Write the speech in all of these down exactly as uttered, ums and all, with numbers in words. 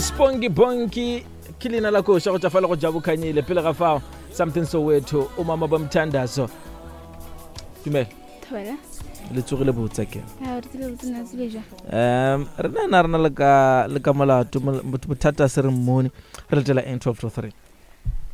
Spongy Bonky ke leina la koša go tša fale go Jabu Khanyile pele ga fao Something Soweto o mama ba mthandazo. Dumela. Thobela. Le tsogile botse ke. A re tsile botse na tsile jwa. Um re na rena le ka le ka molato bothata se re mmone re letela N twelve to three.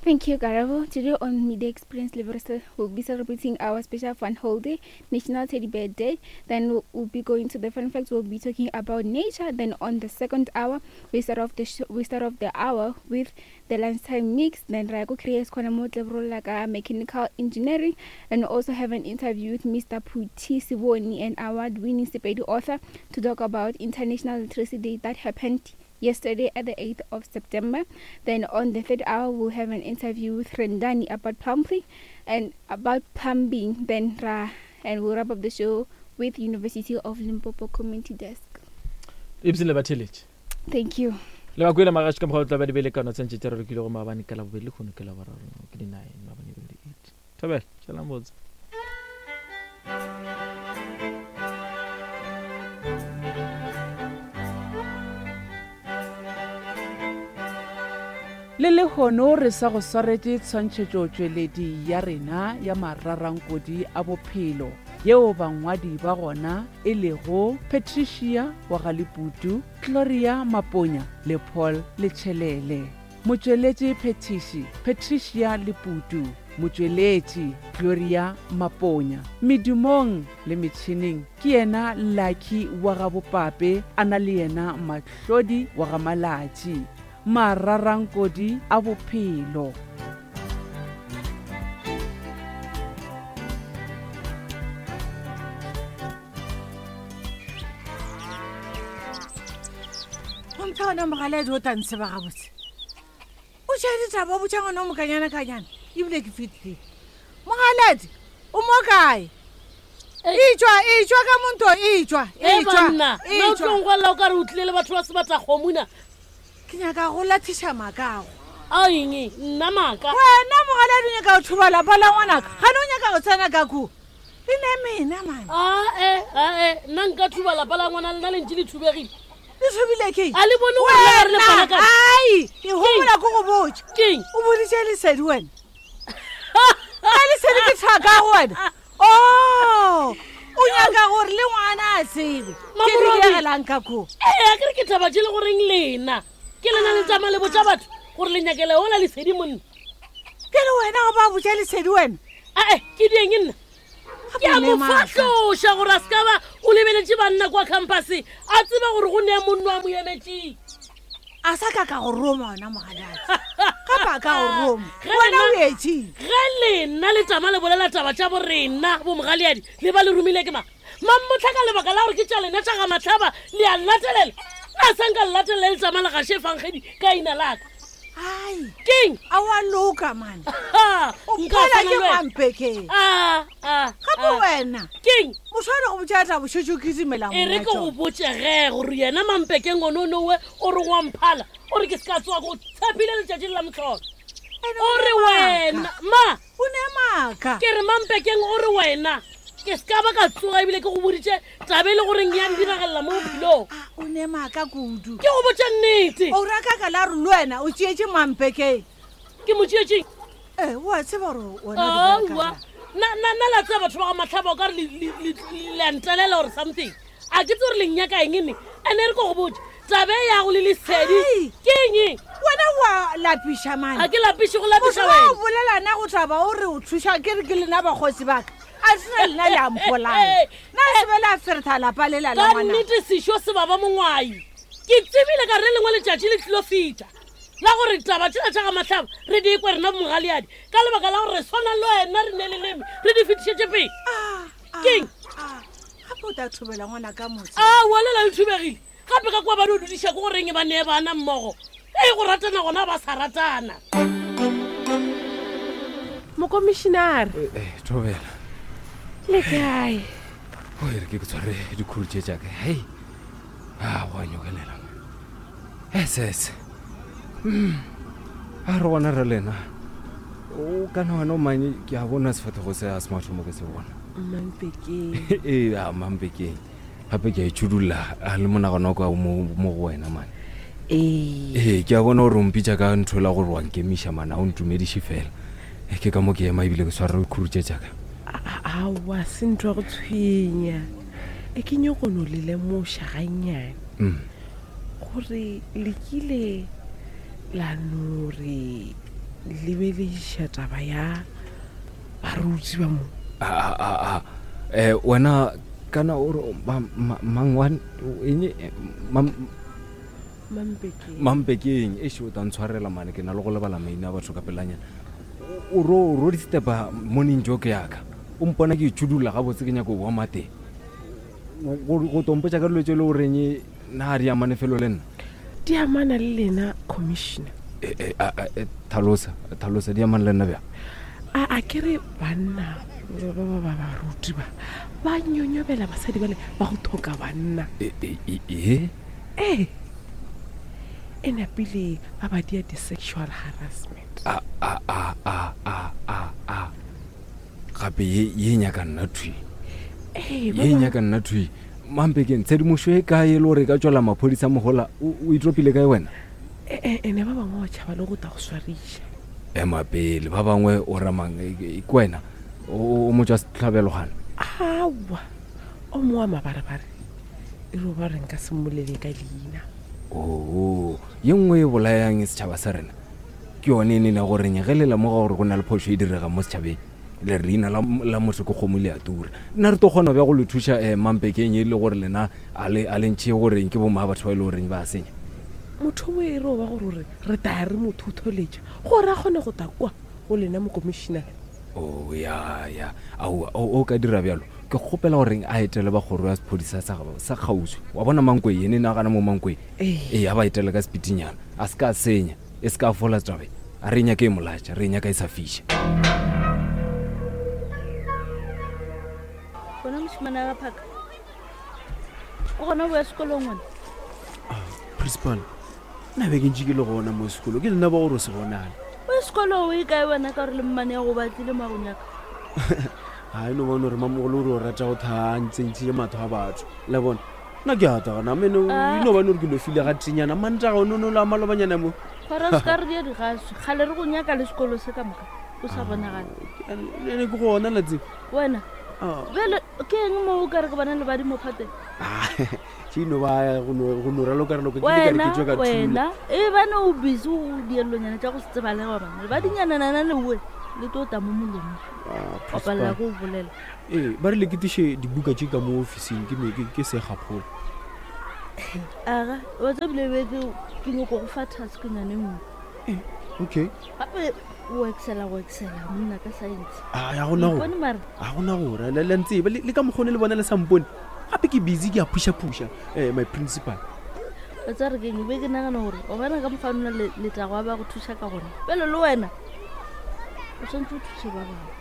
Thank you, Karabo. Today on Midday Experience Liberal, we'll be celebrating our special fun holiday, National Teddy Bear Day. Then we'll, we'll be going to the fun facts. We'll be talking about nature. Then on the second hour, we start off the sh- we start off the hour with the lunchtime mix. Then Rako creates like mechanical engineering, and also have an interview with Mister Puti Siboni, an award-winning Sepedi author, to talk about International Literacy Day that happened yesterday at the eighth of September. Then on the third hour, we'll have an interview with Rendani about plumbing and about plumbing. Then ra and we'll wrap up the show with University of Limpopo Community Desk. Thank you. Le ba kwele magaši ka mokgwa o tla ba di bele kana tsentse tse re rekile go maabane ka la bobedi le kgono ke la boraro ke di nine maabane e bile eight. Thobela, tšhelang botse. Le lehono re sa go swaretše tshwantšhetšo tšweledi ya rena ya mararankodi a bophelo yeo bangwadi ba gona e lego Patricia wa ga Leputu, Gloria Maponya le Paul Letšhelele. Motšweletši phetiši Patricia Leputu, motšweletši Gloria Maponya. Medumong le metšhineng ke yena Lucky wa ga Bopape, a na le yena Mahlodi wa ga Malatši. Mararankodi a bophelo. Gomphe gona mogaledi o tantshe ba gabotse. O tšha ditaba o botša ngwana o mokanyana kanyana ebile ke fetile. Mogaledi o mo kae? Etšwa, etšwa ka monto, etšwa, etšwa. Nna o tlo ngwalla o ka re o tlile le batho ba sebata kgomuna. Ke nyaka go lathiša makago. A eng? Nna maaka. Wena mogaledi o nyaka go thuba lapa la ngwanaka. Gane o nyaka go tsena ka koo. Le ne mena mane. A e, a e, nna nka thuba lapa la ngwana lena le ntše le thubegile. Le thubile ke? A le bone gore le re le fana ka. Ai, ke hopola ko go botša. Keng? O boditše Lesedi wena. A Lesedi ke thaka go wena. Oh, o nyaka gore le ngwana a tsebe. Ke di diegelang ka koo. Ee, a ke re ke taba tše le goreng lena. Ke lena le tsamaya le botša batho gore le nyakele ola Lesedi monna. Ke le wena go ba botša Lesedi wena? Ae, ke dieng nna? Ke a mo fahloša gore a se ka ba o lebeletše banna kwa campuseng a tseba gore go nea monno a mo emetšeng. A sa ka ka go roma wena mogaladi. Gape a ka go roma. Wena o etšeng? Ge lena le tama le bolela taba tša borena bo mogaleadi le ba le romile ke mang? Mammotlha ka lebaka la gore ke tša lena tša ga Mahlaba le a latelela. A sa nka latelela le tsamaya le gaše efangedi ka ina laka. Ai. Keng? A wa loka mane. O phala ke Mampekeng. Ah, ah. Gape wena. Keng? Motho a re go botša tla bošetše o kitimela E re ke go botše ge gore yena Mampekeng ono nowe o re wa mphala o re ke se ka tsoga go tshepile letšatši la mohlolo. O re wena ma o ne maaka. Ke re Mampekeng o re wena ke se ka ba ka tsoga ebile ke go boditše taba e le goreng ya ndiragalela mo bophelong. O ne maaka kudu. Ke go botša nnete. O ra ka ka la re le wena o tšeetše Mampekeng. Ke mo tšeetšeng? Eh, o a tseba gore wena o di Aowa. Na na na la tseba batho ba ga Mahlaba o ka re le a ntelela or something. A ke tse gore le nnyaka eng ne? Ene re ko go botša taba e yago le Lesedi ke eng? Wena wa lapiša mane. A ke lapiše go lapiša wena. Motho wa o bolela na go taba o re o thuša ke re ke lena bakgosi ba ka. A sena lena le a mpolaya. Na se be la feretha lapa le la la Ka ngwana. nnete sešo se baba mongwai. Ke tsebile ka re lengwe letšatši le tlilo fihla la gore taba tšela tša ga Mahlaba re di ekwe rena mogaleadi ka lebaka la gore re swana le wena re ne leleme re di fetišetše pele. Keng? Gape o tla thubela ngwana ka motse. Aowa lela le thubegile. Gape ka kwa ba di o dudiša ke goreng ba nee bana mmogo. Ee go ratana gona ba sa ratana. Mokomišinare. Eh, Thobela. Le kae? O e re ke ke tshware dikhuru tše tša ka. Hei. A go a nyokelela. Ss. Mm. A re gona re lena. O kana wena o manye ke a bona sefahlego se a se mathomo ke se bona. Mampekeng. Ee, a Mampekeng. Gape ke a itšhudulla a le monagano wa ka o mo mo go wena mane. Ee. Ee, ke a bona gore o mpitša ka ntho la gore wa nkemiša mana o ntumediše fela. E, ke ka mo ke ema ebile ke swara dikhuru tše tšaka. Aowa, se ntho ya go tshwenya. E ke nyako no le lemoša gannyane. Mm. Gore le kile la no re lebelediša taba ya baruti ba mo. A, a, a, a. Eh, wena kana o re ba- ma- mang wa eng eh, mam- Mampekeng. Mampekeng eish o tla ntshwarela mane ke na le go lebala maina a batho ka pelanyana. O ro ro di-stepa morning joke yaka o mpona ke itšhudulla gabotse ke nyako boa mateng go go tompotša ka dilo tse e le goreng na di amane felo le nna. Di amana le lena commissioner. E, e, a, a, e, tlhalosa tlhalosa di amane le nna bjang? A a ke re banna ba ba ba baruti ba ba nyonyobela basadi bale ba go thoka banna. E, e, e, e? Ee, e napile ba ba dia di-sexual harassment. A a a a a a a gape ye ye nyaka nna thwi. Ee, ba Ye bang- nyaka nna thwi. Mampekeng tshedimošo e kae e le gore e ka tswela maphodisa mogola o o itropile kae wena? E- e- ene ba bangwe ba tšhaba le go tla go swariša. Ema pele ba bangwe o ramang e- e- ke wena o o motswa setlhabelogana. Aowa, o mongwe wa mabarebare e re ba re nka se mmolele ka leina. Oo, ye nngwe e bolayang setšhaba sa rena ke yone e nene goreng ge le lemoga gore go na le phošo e diregang mo setšhabeng le re leina la, la motho ke kgomo le a tura. Nna re tlo kgona bja go le thuša um Mampekeng e le gore lena a le a le ntšhe goreng ke bomma batho ba e le goreng ba a senya. Motho o e re o ba gore gore re taya re mo thotholetša gore a kgone go ta kwa go lena mokomišenare. O ya ya aowa o o ka dira bjalo ke kgopela goreng a etele ba kgoro ya sephodisa sa sa kgauswi wa bona Mankwe ene nagana mo Mankwe. Ee. Ee, a ba etele ka sepitinyana a se ka senya e se ka fola tabe a re e nyaka e molatša re e nyaka e sa fiša. Bona mošemane wa phaka o gona o boya sekolong wena? Principal, nna be ke ntše ke le gona mo sekolo ke lena ba gore o se bonale. O ye sekolong o e kae wena ka gore le mmane ya go batlile mo a go nyaka? Ga e no bone gore mamogolo ore o rata go thaa ntsentšhile matho a batho le bona nna ke a tagana mene Ah. e no bane gore ke no file ga tenyana mantaga o nono la malobanyana mo. Kgwara o se ka re dia digaswi kgale re go nyaka le sekolo se ka moka o sa bonagale. Ene ke gona la tsebo. Wena Ah. bjale ke eng mo o ka re ke bona lebadi mo phateng? Tše no ba go no go no raloka-raloka ke ile ka re Wena ke tšwe ka thula. wena e bane o busy o diellonyana tša go se tsebalege bana lebadinyananana lewe le tlo ta mo molomong Ah, wa palela principal. ke o bolela. Ee, ba rile ke tiše dibuka tše ka mo officing ke me- ke ke segaphola. Aga wa tsa bile be ke ke nyako go fa task nyane nngwe. Okay. Gape o excela go excela monna ka science. A ya gona go Ipone mara a gona gore le le ntseba le le ka mokgone le bona le sampone gape ke busy ke a phusha-phusha um my principal. Wa tsa re keng be ke nagana gore o bona ka mokgwa nna letlago a ba go thuša ka gona bjale le wena o tshwanetse o thuse ba bangwe.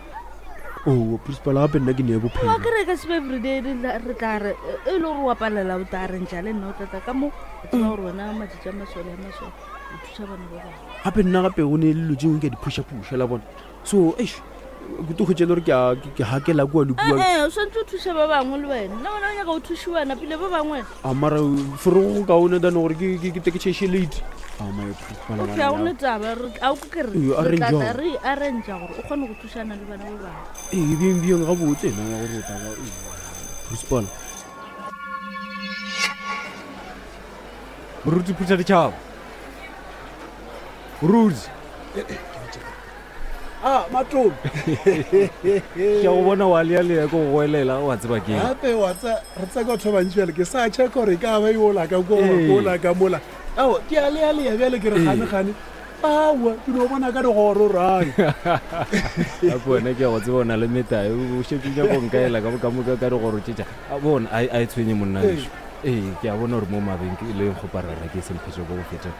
Oo principal gape nna ke nee Wa bophelo. kere ka se be everyday re tla- re tla re e le gore wa palela o tla arrangea le nna o tlatla ka mo o tseba gore wena matšatši a masole a masole o thuša bana ba bangwe. Gape nna gape go ne le dilo tse dingwe ke a di phusha-phusha la bona so eish ke to hwetša e le gore ke a- ke ke hakela kua le kua. Ee, o tshwanetse o thuse ba bangwe le wena nna wena o nyaka o thušiwana pele ba bangwe. A mara fore go kaone than gore ke ke- ke te ke tšhaiše late. A my principal Okay, ga gone taba re- a o ke ke re Ee, re arrange tla tla jwang? re arrangea gore o kgone go thušana le bana ba bangwe. Ee, bjeng bjeng gabotse ena ya gore o tla ba ee, principal. Moruti phutha ditšhaba. Moruti. A matome. Ke a go bona wa lealea ko go goelela wa tseba ke eng. Gape wa tsa re tsa ka batho ba bantši bjale ke sa checka gore e ka ba yola ka ko Ee. kola ka mola. Ao ke a lealea bjale ke re Ee. gane-gane aowa ke no bona ka digoro rae. Gape wena ke a go tseba o na le metae o šetse o nyaka go nkaela ka ka moka ka digoro tše tša a bona a a e tshwenye monna Ee. gešo. Ee, ke a bona gore mo mabenkeleng kgoparara ke semphetše ko go feta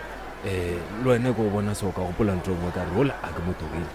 um le wena ke go bona so ka gopola ntho e nngwe ka re ola a ke mo tlogele.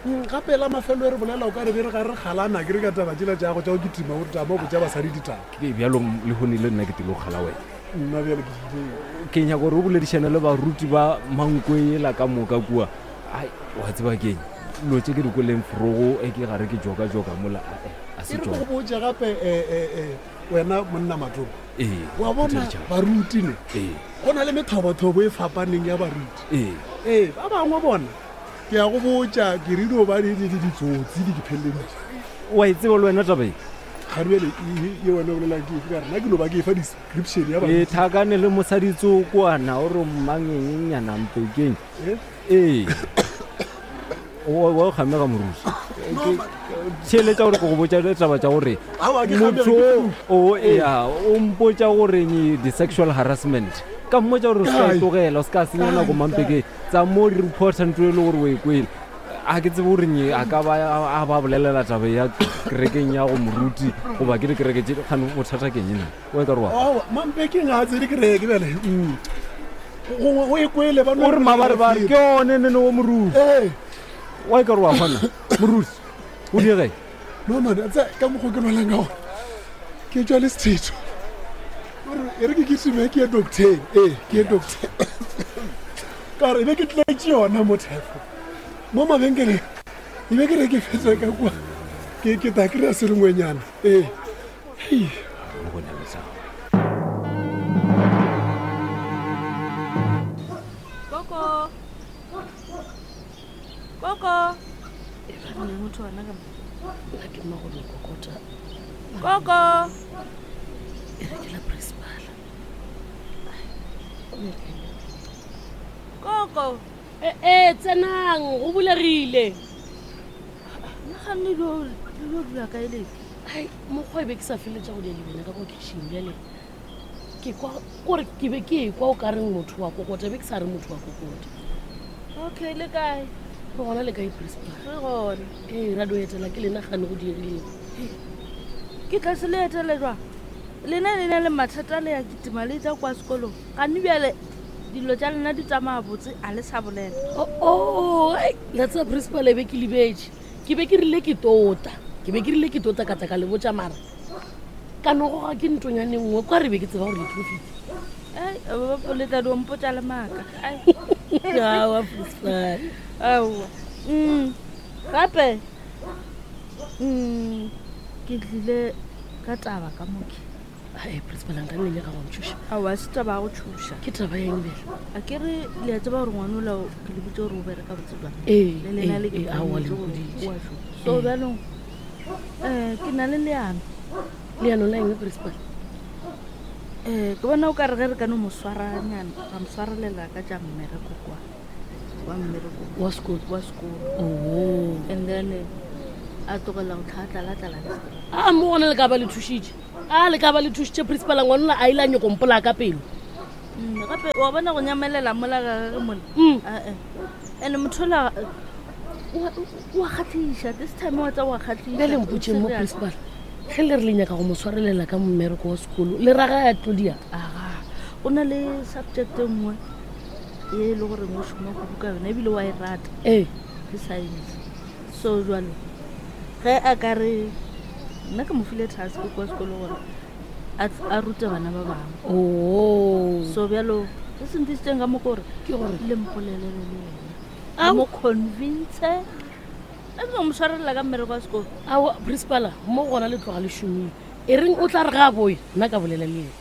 Mm, gape la mafelo e re bolela o ka re be re ga re galana ke re ka taba tsela tša go tša go kitima o tama o botša basadi ditaba. Ke bjalo le hone le nna ke tlile go kgala wena. Nna bjale ke tlile. Ke nyaka gore o boledišane le baruti ba Mankwe ela ka moka kua. Ai, wa tseba ke eng dilo tše ke di kweleng forogo e ke gare ke joka-joka mola, ae, a se E re ke tšona. go botše gape eh, eh, eh, wena monna Matome Ee, Wa bona ke tšeletša. baruti ne Ee. go na le methobothobo e fapaneng ya baruti. Ee. Ee, ba bangwe bona ke ya go botša ke re dio ba di di- di- ditsotsi di ke pheleleditše. Wa e tseba le wena taba e? Ga bjale e wena o bolelang ke efe ka re nna ke no ba ke e fa description ya E baruti. tlhakane le mosaditsokwana o re mmangenyenyana mpekeng. Eh? Ee. Wa wa kgamega moruti. Theeletša gore ke go botša taba tša gore Aowa, ke kgamega, motho ke o ea o mpotša gore nye di-sexual harassment ka mmotša gore o se ka e Kae? tlogela o se ka senya Kae? nako mampekeng tsa mo di reporta ntho e le gore o e kwele a ke tsebe gore nye a ka ba a ba bolelela taba ya kerekeng ya go moruti goba ke dikereke tše kgane bothata keng ena o e ka re wa Aowa, mampekeng ga a tsene kereke bjale. Mm. Gongwe o e kwele ba no o re mabarebare ke one nene wa moruti Ee. wa e ka re wa kgona moruti o diege No man, a tsaya ka mokgwa ke lwalang ka gona. Ke tswa le sethetho. Ore e re ke kitime ke ye docteng. Ee, ke ye docteng. Ka gore e be ke tletše yona mo thefo. Mo mabenkeleng e be ke re ke fetsa ka kwa. Ke ke tla kry-a se lengwenyana. Ee. Hei. Koko. Koko. Ne motho ona ka mo. Nna ke mma go no kokota. Koko. E re ke la principal. Koko. E e tsenang go bulegile. Nna ganne lo lo dula kae le? Ai mokgwa e be ke sa feletša go dia lebena ka ko kitchen bjale. Ke kwa kore ke be ke ekwa o ka reng motho wa kokota be ke sa re motho wa kokota. Okay, le kae? Re gona le kae principal? Re gona. Ee, ra do etela ke lena gane go diegileng. Ke tla se le etele jwang? Lena le na le mathata le ya kitima le tla kwa sekolong. Gane bjale dilo tša lena di tsamaya botse a le sa bolela. Oh, oh, ai, la tseba principal e be ke lebetše. Ke be ke rile ke tota. Ke be ke rile ke tota ka tla ka le botša mara. Ka no goga ke ntonyane nngwe kwa re be ke tseba gore le tlo fihla. Ai, ba le tla di mpotša le maaka. Ai. Aowa, principal. Aowa. Mm. Gape mm ke tlile ka taba ka moke. Ai, principal nka nne nyaka go ntšhoša. Aowa, se taba ya go tšhoša. Ke taba ya eng bjale? A ke re le a tseba gore ngwana ola o- ke le botse gore o bereka botse jwang. Ee, Le lena ee, le ke ee, aowa, le mpoditse gore mpoditše. o a šoma. So Ee. bjalong um ke na le leano. Leano la eng principal? Um ke bona o ka re ge re ka no mo swaranyana ra mo swarelela ka tša mmereko kwa wa mmereko wa sekolo wa sekolo. Oh. And then eh, a tlogela go tlhatlalatlala le sekolo. A mo gona le ka ba le thušitše. A le ka ba le thušitše principal ngwana a ile a nyako mpola ka pelo. Mm, gape wa bona go nyamelela mola ga gage mola Mm. ae and motho ola wa kgatlhiša this time wa tsa wa kgatlhiša Bjale mpotseng mo principal. Ge le re le nyaka go mo swarelela ka mmereko wa sekolo, le raga ya tlodia. Aga, o na le subject e nngwe ye e le goreng o šoma kudu ka yona ebile wa e rata. Ee. Ke science. So jwale ge a ka re nna ke mo file task kwa sekolo gore a tl- a rute bana ba bangwe. Oh. So bjalo se se ntisitseng ka mo ke gore Ke gore le mpolelele le yena. Ao. A mo convince. A ke mo swarelela ka mmereko wa sekolo. Aowa, principal mo gona le tloga le šomile. E reng o tla re ga a boya, nna ka bolela le yena.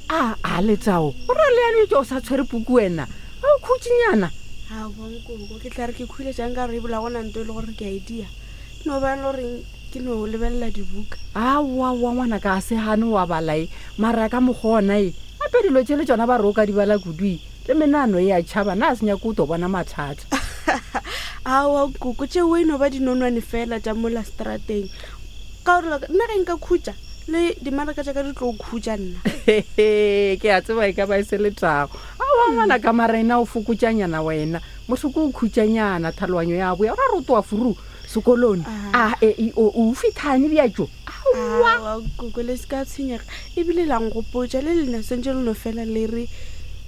A a letao o ra leano tse o sa tshwere puku wena a o khutšinyana Aowa nkoko ke tla re ke khule jang ka re ebola gona nto e le gore ke a e dia. Ke no ba le goreng ke no lebelela dibuka. aowa ngwana ka a se gane wa balae mara ka mokgwa ona e gape dilo tše le tsona ba re o ka di bala kudu le menano e a tšhaba na a se nyake o to bona mathata Aowa nkoko tšeo e no ba dinonwane fela tša mola strateng. Ka gore like, nna ge nka khutša le dimaraka tša ka di tlo khutša nna. ke a tseba e ka ba e se letago aowa ngwana ka mara ena o fokotšanyana wena motho ke o khutšanyana tlhaloganyo ya boya o ra re o toa furu sekolong a e e o o fithane bjatso Aowa nkoko le se ka tshwenyega ebile la nkgopotša le lena swantše le no fela le re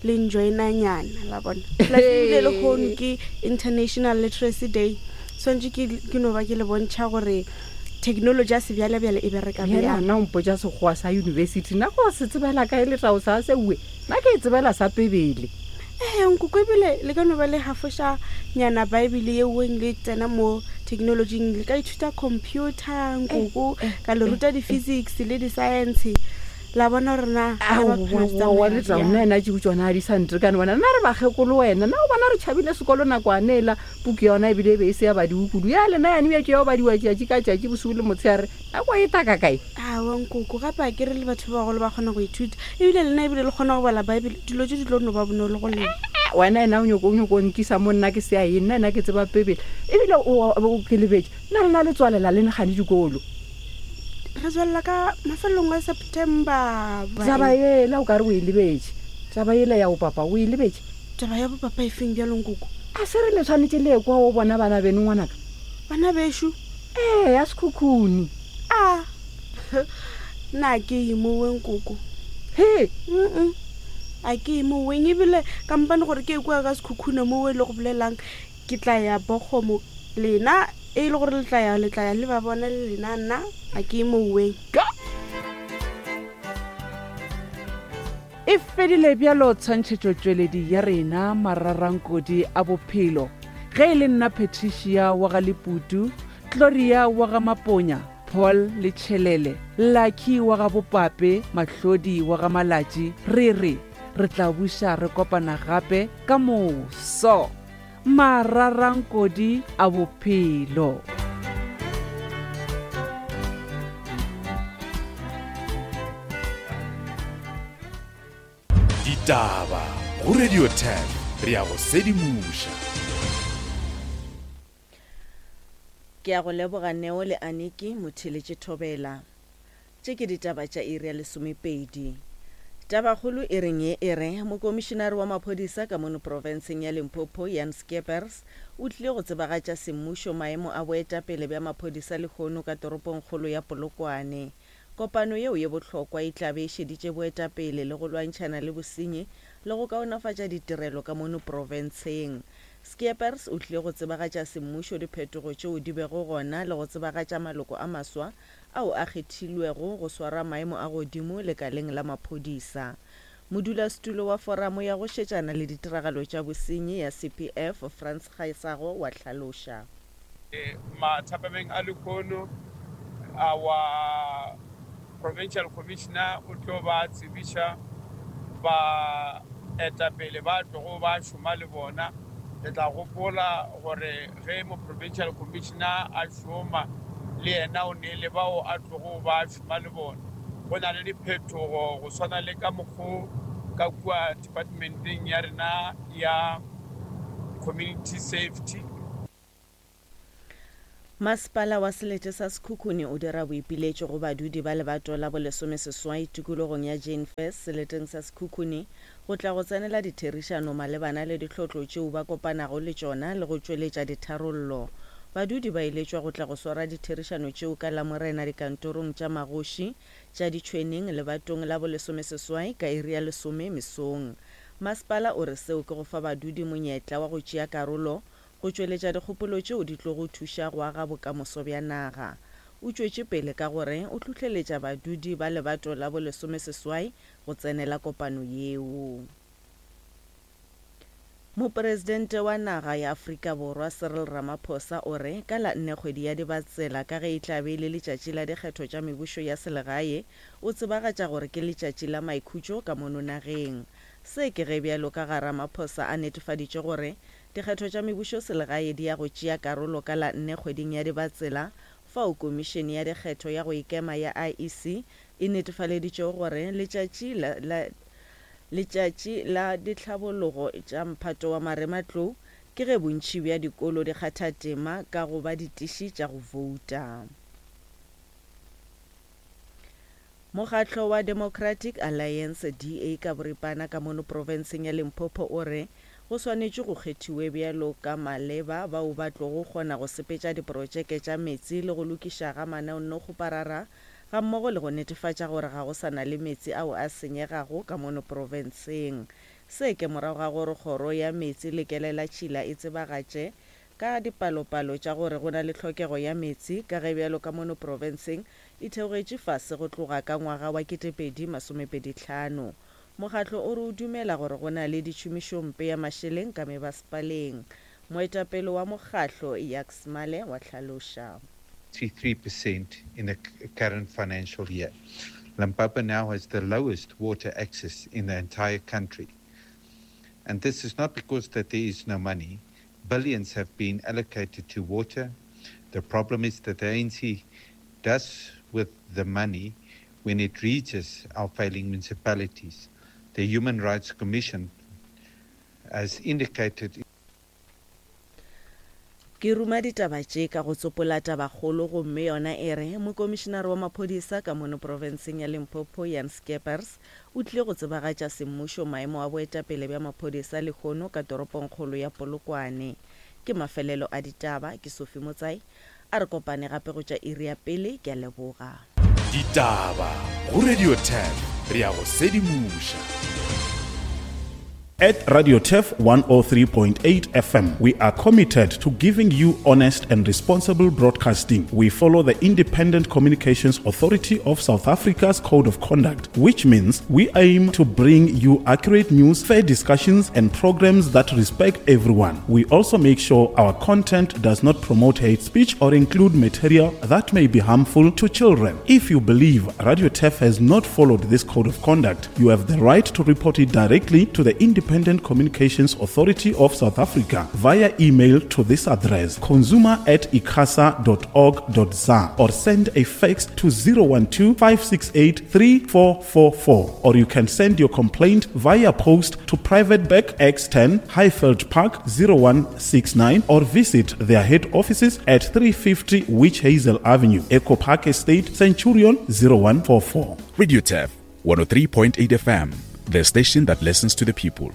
le njoinanyana la bona. Plus ebile lehono ke International Literacy Day swantše ke ke no ba ke le bontšha gore technology ya sebjalebjale e bereka bjale bjang. ana o mpotša sekgowa sa yunibesithi nna go se tsebela kae letao sa seue nna ke e tsebela sa pebele Ee nkoko ebile le ka no ba le hafošanyana bible yeweng le tsena mo Technologyng le ka ithuta computer nkoko, ka le ruta di-physics le di-science. La bona gore na aowa le tla nna ena tšeo tsona a di sa ntekane wena. Nna re bakgekolo wena, na o bona re tšhabile sekolo nakwane ela puku yona ebile e be e se ya badiwe kudu ya lena yane bja tšeo badiwa tšatši ka tšatši bosigo le motshegare nako e taka kae. Aowa nkoko, gape a ke re le batho ba bagolo ba kgona go ithuta, ebile lena ebile le kgona go bala Bible, dilo tše di tlo no ba bonolo go lena. Wena ena o nyoko o nyoko nkisa mo nna ke se ya eng, nna ena ke tseba Bibele ebile o o ke lebetše nna lena le tswalela le negane dikolo. Re tswelela ka mafelong a September. Taba ela o ka re o e lebetše, taba ela ya bopapa o e lebetše. Taba ya bopapa e feng bjalo nkoko? A se re le tshwanetse le kwa o bona bana beno ngwanaka? Bana bešo? Ee, ya Sekhukhune. A nna ke ye moweng koko. He? Mm-mm. A ke ye moweng ebile kampane gore ke e kwa ka Sekhukhune mowe le go bolelang ke tla ya Bogomo lena e le gore le tla ya le tla ya le ba bona le lena nna a ke moweng. E fedile bjalo tshwantšhetšotšweledi ya rena mararankodi a bophelo. Ge e le nna Patricia wa ga Leputu, Gloria wa ga Maponya, Paul le Tšhelele, Lucky wa ga Bopape, Mahlodi wa ga Malatši, re re re tla buša re kopana gape ka moso. Mararankodi a bophelo. Ditaba go Radio ten re ya go sedimoša. Ke a go leboga Neo le Aniki motheletše Thobela. Tše ke ditaba tša iri ya lesomepedi. Tabakgolo e reng ye e re mokomišinare wa maphodisa ka mono profenseng ya Limpopo Jan Skeepers o tlile go tsebagatša semmušo maemo a boetapele bja maphodisa lehono ka toropongkgolo ya Polokwane. Kopano yeo ye bohlokwa e tla be e šeditše boetapele le go lwantšhana le bosenyi le go kaonafatša ditirelo ka mono profenseng. Skeepers o tlile go tsebagatša semmušo diphetogo tšeo di bego gona le go tsebagatša maloko a maswa ao a kgethilwego go swara maemo a godimo lekaleng la maphodisa. Modulasetulo wa foramo ya go šetšana le ditiragalo tša bosenyi ya C P F Frans Gaesago wa hlaloša. Mathapameng a lehono our provincial commissioner o tlo ba tsebiša ba etapele ba tlogo ba šoma le bona. Le tla gopola gore ge mo provincial commissioner a šoma le yena o ne le bao a tlogo ba šoma le bona. Go na le diphetogo go swana le ka mokgo ka kua departmenteng ya rena ya community safety. Masepala wa selete sa Sekhukhune o dira boipiletšo go badudi ba lebato la bolesomeseswai tikologong ya Jane Furse seleteng sa Sekhukhune go tla go tsenela ditherišano malebana le ditlhotlo tšeo ba kopanago le tšona le go tšweletša ditharollo. Badudi ba eletšwa go tla go swara ditherišano tšeo ka Lamorena dikantorong tša magoši tša Ditšhweneng lebatong la bolesomeseswai ka iri ya lesome mesong. Masepala o re seo ke go fa badudi monyetla wa go tšea karolo go tšweletša dikgopolo tšeo di tlogo thuša go aga bokamoso bja naga. O tšwetše pele ka gore o hlohleletša badudi ba lebato la bolesomeseswai go tsenela kopano yeo. Mopresidente wa naga ya Afrika Borwa Cyril Ramaphosa o re ka la nne kgwedi ya Dibatsela ka ge e tla be e le letšatši la dikgetho tša mebušo ya selegae, o tsebagatša gore ke letšatši la maikhutšo ka mono nageng. Se ke ge bjalo ka ga Ramaphosa a netefaditše gore dikgetho tša mebušo selegae di ya go tšea karolo ka la nne kgweding ya Dibatsela fao komišene ya dikgetho ya go ikema ya I E C e netefaleditšego gore letšatši la, la letšatši la ditlhabologo tša mphato wa marematlou ke ge bontši bja dikolo di kgatha tema ka go ba ditiši tša go vouta. Mokgatlo wa Democratic Alliance D A ka boripana ka mono profenseng ya Limpopo o re go swanetše go kgethiwe bjalo ka maleba bao ba tlogo kgona go sepetša diprotšeke tša metsi le go lokiša ga manaonokgoparara ga mmogo le go netefatša gore ga go sa na le metsi ao a senyegago ka mono profenseng. Se ke morago ga gore kgoro ya metsi le kelela tšhila e tsebagatše ka dipalopalo tša gore go na le tlhokego ya metsi ka ge bjalo ka mono profenseng e theogetše fase go tloga ka ngwaga wa ketepedi masomepedi hlano. Mokgatlo o re o dumela gore go na le ditšhomišompe ya mašeleng ka mebasepaleng. Moetapele wa mokgahlo Jacques Male wa hlaloša. three percent in the current financial year. Limpopo now has the lowest water access in the entire country. And this is not because that there is no money. Billions have been allocated to water. The problem is that the A N C does with the money when it reaches our failing municipalities. The Human Rights Commission has indicated Ke ruma ditaba tše ka go tsopola tabakgolo gomme yona e re mokomišenare wa maphodisa ka mono profenseng ya Limpopo Jan Skeepers o tlile go tsebagatša semmušo maemo a boetapele bja maphodisa lehono ka toropongkgolo ya Polokwane. Ke mafelelo a ditaba, ke Sophie Motsai, a re kopane gape go tša iri ya pele, ke a leboga. Ditaba go Radio Turf, re ya go sedimoša. At Radio Turf one oh three point eight F M, we are committed to giving you honest and responsible broadcasting. We follow the Independent Communications Authority of South Africa's Code of Conduct, which means we aim to bring you accurate news, fair discussions, and programs that respect everyone. We also make sure our content does not promote hate speech or include material that may be harmful to children. If you believe Radio Turf has not followed this Code of Conduct, you have the right to report it directly to the Independent Independent Communications Authority of South Africa via email to this address, consumer at icasa dot org dot za, or send a fax to zero one two, five six eight, three four four four, or you can send your complaint via post to Private Bag X ten, Highveld Park zero one six nine, or visit their head offices at three fifty Witch Hazel Avenue, Echo Park Estate, Centurion zero one four four. Radio Turf one oh three point eight F M, the station that listens to the people.